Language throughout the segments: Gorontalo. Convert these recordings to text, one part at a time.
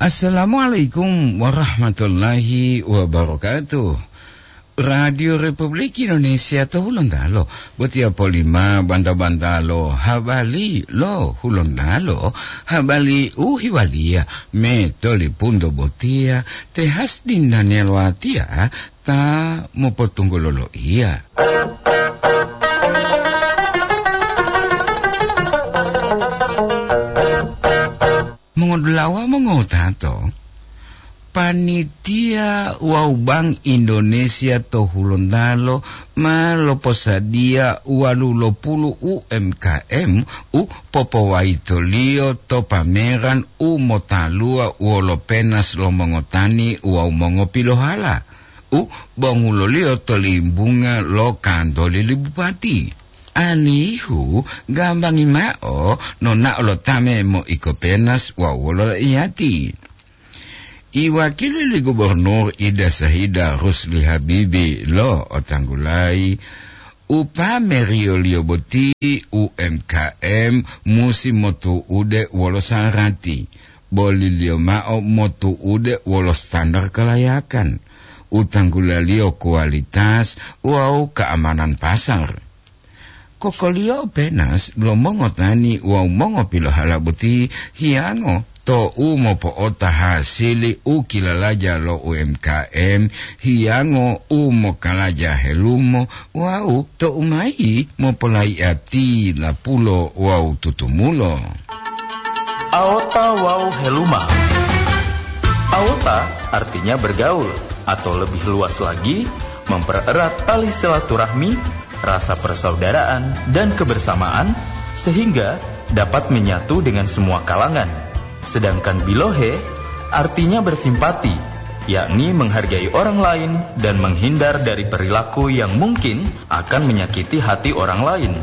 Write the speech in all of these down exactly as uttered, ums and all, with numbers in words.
Assalamualaikum warahmatullahi wabarakatuh. Radio Republik Indonesia to Hulontalo, botiya polima banta-bantalo habari lo Hulontalo, habari u hiwaliya me tolipunto botiya, te Hasdin Daniel Watia ta mopotunggulo loiya. Mongodulawa mongotato, panitia wawu Bank Indonesia to Hulontalo ma loposadiya walu lo pulu U M K M u popowayitoliyo to pameran u motaluwa wolo penas lo mongotani wawu mongopilohala, u bonguloliyo to limbunga lo kantoli li bupati. Alihu gambangi mao nonao lo ta memoiko penas wawu wolo iyati. Iwakili li Gubernur Ida Sahida Rusli Habibi lo otanggulayi, upameriyoliyo boti U M K M musi motu'ude wolo sarati, boliliyo mao motu'ude wolo standar kalayakan, utanggulaliyo kualitas wawu keamanan pasar. Kokoliyo penas lo mongotani wawu mongopilohala boti hiyango to u mopo'ota hasili u kilalaja lo U M K M, hiyango u mokalaja helumo wawu to umayi mopolayi'ati lapulo wawu tutumulo. Aota wawu heluma. Aota artinya bergaul, atau lebih luas lagi, mempererat tali silaturahmi, rasa persaudaraan, dan kebersamaan, sehingga dapat menyatu dengan semua kalangan. Sedangkan bilohe artinya bersimpati, yakni menghargai orang lain dan menghindar dari perilaku yang mungkin akan menyakiti hati orang lain.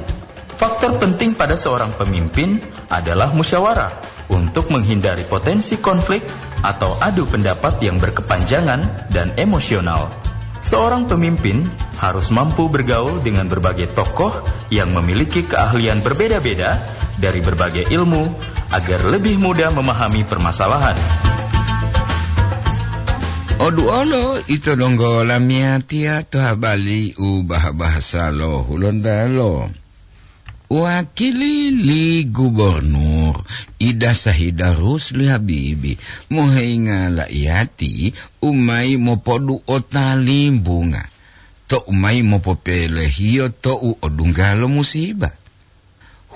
Faktor penting pada seorang pemimpin adalah musyawarah untuk menghindari potensi konflik atau adu pendapat yang berkepanjangan dan emosional. Seorang pemimpin harus mampu bergaul dengan berbagai tokoh yang memiliki keahlian berbeda-beda dari berbagai ilmu agar lebih mudah memahami permasalahan. Oduolo ito donggo lamiyatiya to habari u bahasa lo Hulontalo. Wakili li Gubernur Ida Sahida Rusli Habibi moheinga la'iyati u mayi mopodu'ota limbunga, to u mayi mopopelehiyo to u odungga lo musiba.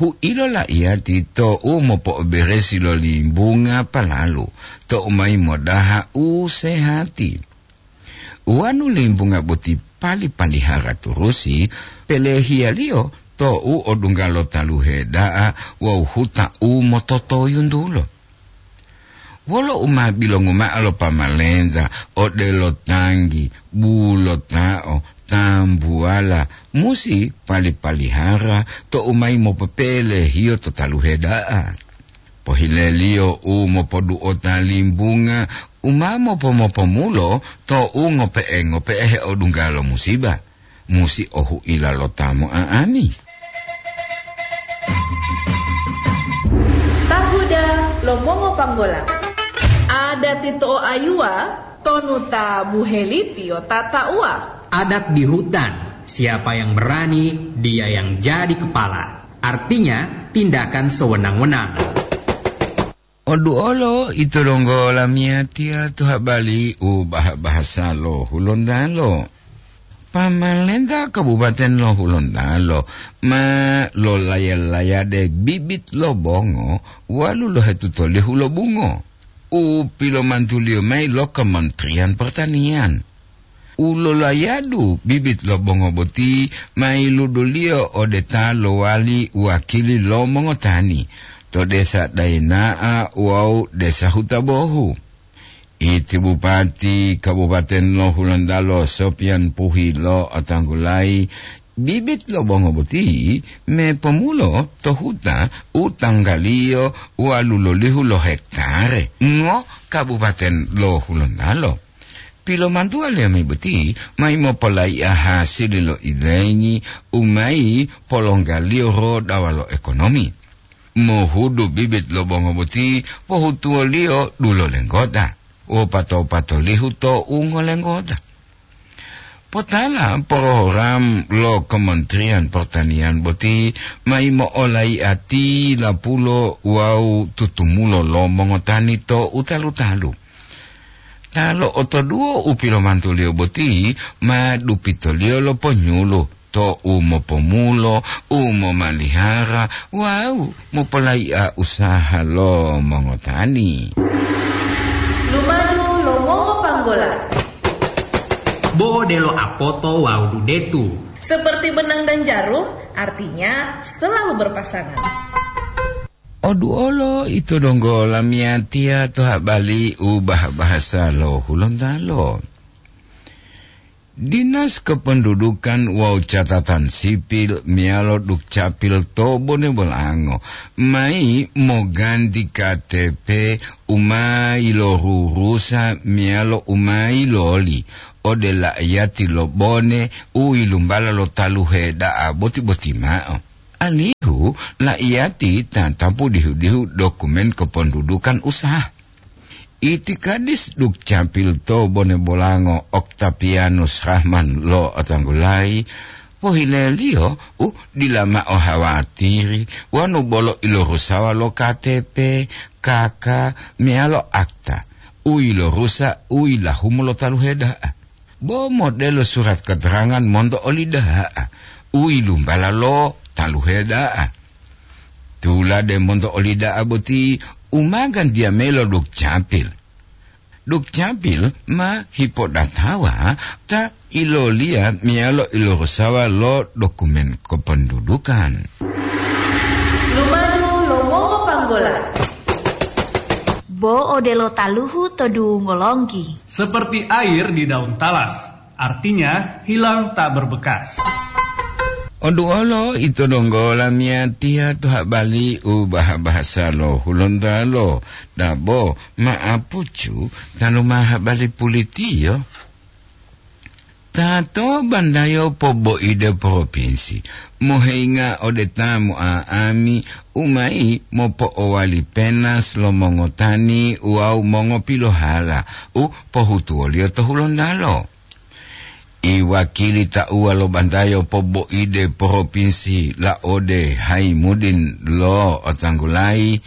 Hu'ilo la'iyati to u mopo'oberesi lo limbunga palalu, to u mayi modaha u sehati. Wonu limbunga boti pali-palihara turusi, pelehiyaliyo to u odungga lo taluhe da'a wawu huta u mototoyuntulo. Wolo u ma bilongu mao lo pamalenta odelo tanggi, bulotao, tambuwala, musi pali-palihara to u mayi mopopelehiyo to taluhe da'a. Pohileliyo u mopodu'ota limbunga u ma mopo-mopomulo to u ngope'e-ngope'e heodungga lo musiba, musi ohu'ila lo ta mo'a'ani. Tahuda lo mongopanggola. Adati to'oayuwa tonu ta buhelitiyo tata'uwa. Adat di hutan, siapa yang berani, dia yang jadi kepala. Artinya, tindakan sewenang-wenang. Oduolo ito donggo lamiyatiya to habari u bah-, bahasa lo Hulontalo. Pamalenta Kabupaten lo Hulontalo ma lolaya-layade bibit lo bongo walu lohetuto lihu lo bungo u pilomantuliyo mayi lo Kementerian Pertanian. U lolayadu bibit lo bongo boti ma yiluduliyo ode ta lowali wakili lo mongotani to desa Daina'a wawu desa Hutabohu. Iti Bupati Kabupaten lo Hulontalo Sopian Puhi lo otanggulayi bibit lo bongo boti me pomulo to huta u tanggaliyo walu lolihu lo hektare ngo Kabupaten lo Hulontalo. Pilomantuwa liyami boti mayi mopolaiya hasili lo ilengi u mayi polonggaliyo rodawa lo ekonomi. mohudu bibit lo bongo boti pohutuwoliyo dulo lenggota, wopato-patolihu to ungo lenggota. Potala program lo Kementerian Pertanian boti ma yimo'olaiati lapulo wawu tutumulo lo mongotani to utalu-talu. Ta lo'otoduwo u pilomantuliyo boti ma dupitoliyo lo ponyulu to u mopomulo, u momalihara wawu mopolai'a usaha lo mongotani. Lumadu lo mongopanggola. Bo odelo apoto wawu dudetu. Seperti benang dan jarum, artinya selalu berpasangan. Oduolo ito donggo lamiyatiya to habali u bah-bahasa lo Hulontalo. Dinas Kependudukan wawu Catatan Sipil meyalo Dukcapil to Bone Bolango mayi moganti K T P u ma yilorurusa meyalo u ma yiloli ode la'iyati lo Bone u yilumbala lo taluhe da'a boti-boti mao, alihu la'iyati tatapu dihu-dihu dokumen kependudukan usaha. Itikadis Dukcapil to Bone Bolango Oktapianus Rahman lo Otanggulayi, pohileliyo u dila mao hawatiri wonu bolo ilorusawa lo K T P, K K, meyalo akta u yilorusa u yilahumu lo taluhe da'a. Bo modelo surat keterangan monto oli da'a u yilumbala lo taluhe da'a. Tulade monto oli da'a boti u ma gantiya mayi lo Dukcapil. Dukcapil ma hipodatawa ta iloliya meyalo ilorusawa lo dokumen kependudukan. Lumadu lo mongopanggola. Bo odelo taluhu to dungo longgi. Seperti air di daun talas, artinya hilang tak berbekas. Oduolo ito donggo lamiyatiya to habali u bah-bahasa lo Hulontalo, dabo ma'apucu tanu ma habali pulitiyo. Ta to bandayo poboide propinsi, moheyinga ode ta mo'a'ami u mayi mopo'owali penas lo mongotani wawu mongopilohala u pohutuwoliyo to Hulontalo. Iwakili tauwa lo bandayo poboide propinsi laode Haimudin lo Otanggulayi,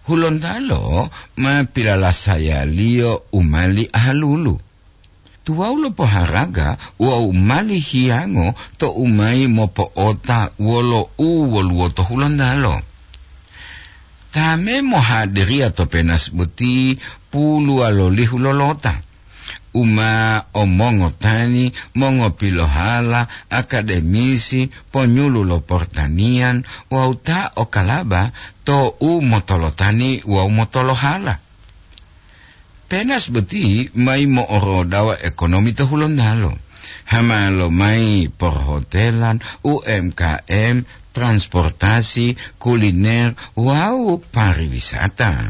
Hulontalo ma pilalasayaliyo u mali ahalulu. Tuwawu lo poharaga wawu mali hiyango to u mayi mopo'ota wolo u woluwo to Hulontalo. Ta me mohadiriya to penas boti puluwalolihu lolota, u ma o mongotani, mongopilohala, akademisi, ponyulu lo portaniyan wawu ta o kalaba to u motolotani wawu motolohala. Penas boti mayi mo'orodawa ekonomi to Hulontalo. Hama lomayi porhotelan, U M K M, transportasi, kuliner, wawu pariwisata.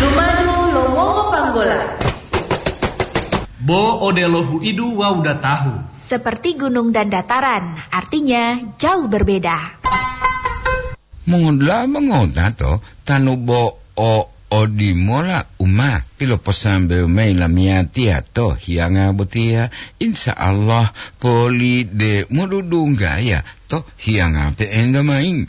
Lumadu lo mongopanggola. Bo odelo huidu wawu datahu. Seperti gunung dan dataran, artinya jauh berbeda. Mongodula'a mongotato, tanu bo o odimola u ma piloposambewo mayi lamiyatiya to hiyanga botiya, insya Allah poli de modudunggaya to hiyanga pe'enta mayi.